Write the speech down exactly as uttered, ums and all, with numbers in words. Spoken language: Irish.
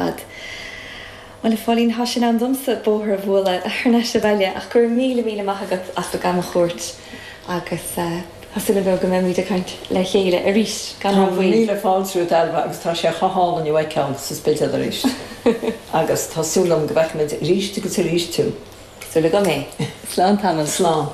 fad. Well a Phóilín tá sé in am domsa bóthar a bhualadh thar n-ais abhaile ach go raibh míle míle maith agat as do gan chuairt agus uh, tá súil agam go mbeimid ag caint le chéile arís gan Tá míle fáilte Ailbhe agus tá sé chohálan ceann sa Spidéal arís. Agus tá súil agam go bhfeicfimid arís agus arís tú. Súil agam é. Slán tamall Slán.